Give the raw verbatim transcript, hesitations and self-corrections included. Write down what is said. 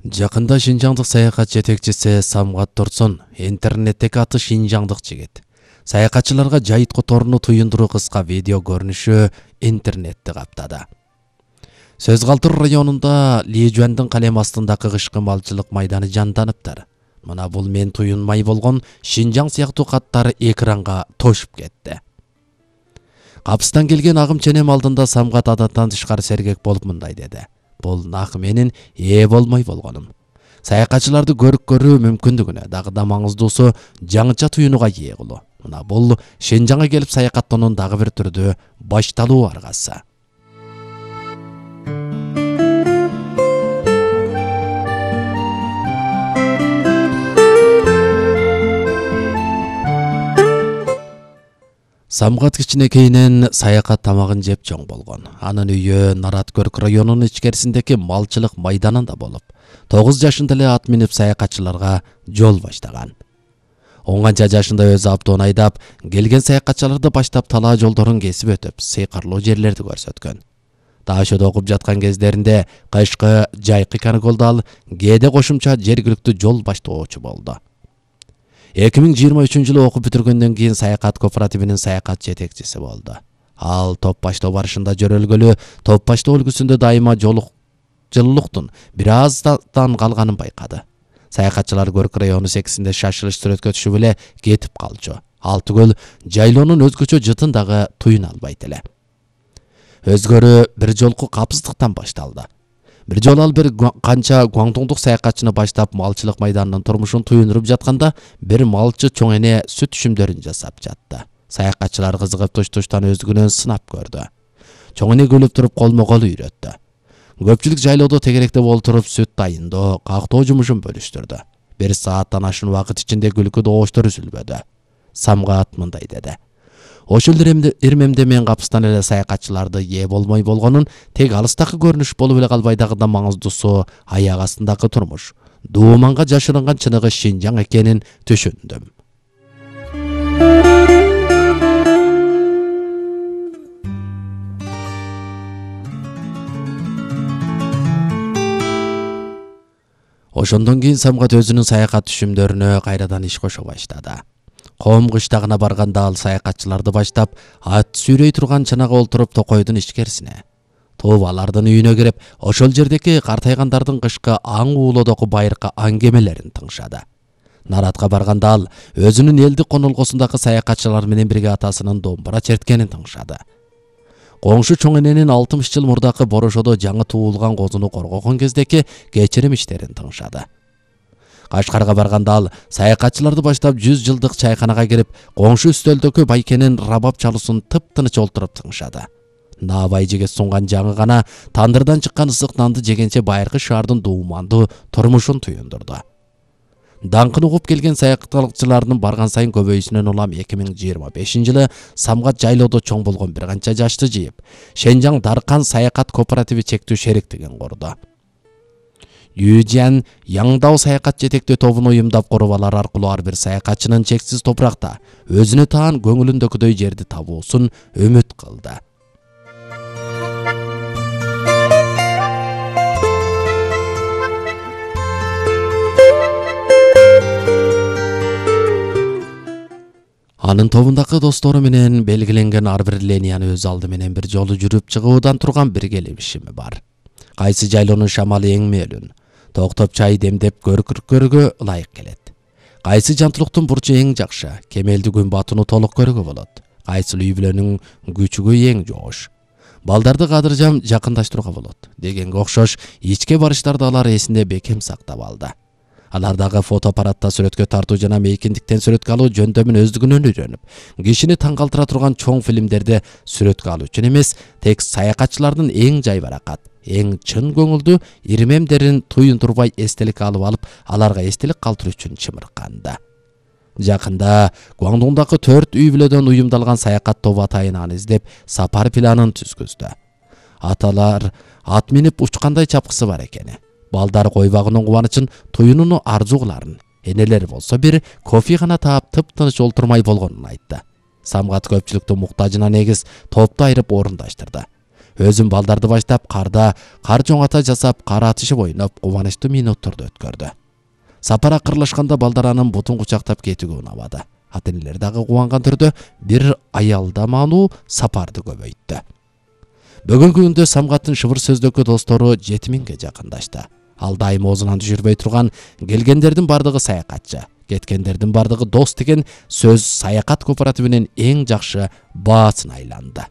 Жакында Шинжаңдык саякат жетекчиси Самгат Турсун интернеттеги аты Шинжаңдык жигит саякатчыларга жайыткы торуну туюндуруу кыска видео көрүнүшү интернетти каптады. Сөз калтыр районунда Лежуандын калем астындагы кышкы малчылык майданы жанданыптыр. Мына бул мен туюнмай болгон Шинжаң сыяктуу каттар экранга тошуп кетти. Капыстан келген агым ченем алдында Самгат адаттан тышкары сергек болуп мындай деди. Бул нак менин ээ болмой болгонум. Саякатчыларды көрүп көрүү мүмкүндүгүнө дагы да маңыздуусу жаңыча туюнуга ээ кылуу. Мына бул Шинжаңга келип саякаттоонун дагы бир түрдүү башталуу аргасы. Самгат кичинекейинен саякат тамагын жеп чоң болгон. Анын үйү Нараткөрк районунун ичкерисиндеги малчылык майданында болуп, тогуз жашында эле ат минип саякатчыларга жол баштаган. он канча жашында өзү автоун айдап, келген саякатчыларды баштап талаа жолдорун кесип өтүп, сыйкарлуу жерлерди көрсөткөн. Таашоодо окуп жаткан кездеринде кышкы жайкы каникулда ал кээде кошумча жергиликтүү жол баштоочу болду. эки миң жыйырма үчүнчү жылы окуп бүтүргөндөн кийин саякат кооперативинин саякат жетекчиси болду. Ал топ баштоо барышында жөрөлгөлү, топ баштоо үлгүсүндө дайыма жолук жылуулуктун бир аздан калганын байкады. Саякатчылар Көрк району секисинде шашылыш сүрөткө түшүп эле кетип калчу. Ал түгөл жайлоонун өзгөчө жытын дагы туюна албайт эле. Өзгөрүү бир жолку капсыздыктан башталды. Бир жолу ал бир канча гуаңтуңдук саякатчыны баштап малчылык майданынын турмушун туюндуруп жатканда бир малчы чоң эне сүт түшүмдөрүн жасап жатты. Саякатчылар кызыгып туш-туштан өздүгүнөн сынап көрдү. Чоң эне күлүп туруп колмо-кол үйрөттү. Көпчүлүк жайлоодо тегеректе болтуруп сүт дайындоо, кактоо жумушун бөлүштүрдү. Бир сааттан ашын убакыт ичинде күлкү добуштар үзүлбөдү. Самгат мындай деди. Ошол ирмемде мен капыстан эле саякатчыларды ээ болмой болгонун, тек алыстагы көрүнүш болуп эле калбай дагы да маңыздуусу аяк астындагы турмуш, дууманга жашырынган чыныгы Шинжаң экенин түшүндүм. Ошондон кийин Самгат өзүнүн саякат түшүмдөрүнө кайрадан иш кошо баштады. Ком кыштагына барганда ал саякатчыларды баштап, ат сүйрөй турган чанага олтуруп токойдун ичкерисине. Туп алардын үйүнө кирип, ошол жердеги картайгандардын кышкы аң уулоодогу байыркы аңгемелерин тыңшады. Наратка барганда ал өзүнүн элдик конолгосундагы саякатчылар менен бирге атасынын домбура черткенин тыңшады. Коңшу чоң эненин алтымыш жыл мурдакы борошодо жаңы туулган козуну коргогон кездеки кечирим иштерин тыңшады. Кашкарга барганда ал саякатчыларды баштап жүз жылдык чайканага кирип, коңшу үстөлдөгү байкенин рабап чалуусун тып-тыныч олтуруп тыңшады. Наабай жеге сунган жаңы гана тандырдан чыккан ысык нанды жегенче байыркы шаардын дуумандуу турмушун туюндурду. Даңкын угуп келген саякатчылардын барган сайын көбөйүүсүнөн улам эки миң жыйырма бешинчи жылы Самгат жайлоодо чоң болгон бир канча жашты жыйып, Шинжаң Даркан саякат кооперативи чектүү шериктигин курду. Южан Яңдау саякат жетектөө тобун уюмдап куруп, алар аркылуу ар бир саякатчынын чексиз топуракта өзүнө таан көңүлүндөгүдөй жерди табуусун үмүт кылды. Анын тобундагы достору менен белгиленген ар бир линияны өз алды менен бир жолу жүрүп чыгуудан турган бир келишими бар. Кайсы жайлоонун шамалы эң мөөлүн, токтоп чай демдеп көркүркөргө ылайык келет. Кайсы жантылыктын бурчу эң жакшы, кемелди күн батууну толук көрүүгө болот. Кайсы үй бүлөнүн күчүгү эң жоош, балдарды кадыржам жакындаштырууга болот дегенге окшош ичке барыштарды алар эсинде бекем сактап алды. Алардагы фотоаппаратта сүрөткө тартуу жана мейкиндиктен сүрөткө алуу жөндөмүн өздүгүнөн үйрөнүп, кишини таң калтыра турган чоң фильмдерди сүрөткө алуу үчүн эмес, тек саякатчылардын эң жайбаракат, эң чын көңүлдүү ирмемдерин туюндурбай эстелик алып алып, аларга эстелик калтыруу үчүн чымырканды. Жакында Гуаңдуңдагы төрт үй бүлөдөн уюмдалган саякат тобу атайын аны издеп, сапар планын түзгүздү. Аталар ат минип учкандай чапкысы бар экени. Балдар койбагынын кубанычын, туюнуну арзууларын, энелер болсо бир кофе гана таап тып-тыныч олтурмай болгонун айтты. Самгат көпчүлүктүн муктажына негиз топту айырып орундаштырды. Өзүн балдарды баштап карда кар жоңата жасап кар атышып ойноп кубанычтуу минутторду өткөрдү. Сапар акырлашканда балдар анын бутун кучактап кетүүгө унабады. Ата-энелер дагы кубанган түрдө бир аялдамануу сапарды көбөйттү. Бүгүнкү күндө Самгаттын шыбыр сөздөгү достору жети миңге жакындашты. Ал дайым оозунан түшүрбөй турган келгендердин бардыгы саякатчы, кеткендердин бардыгы дос деген сөз саякат кооперативинин эң жакшы баасына айланды.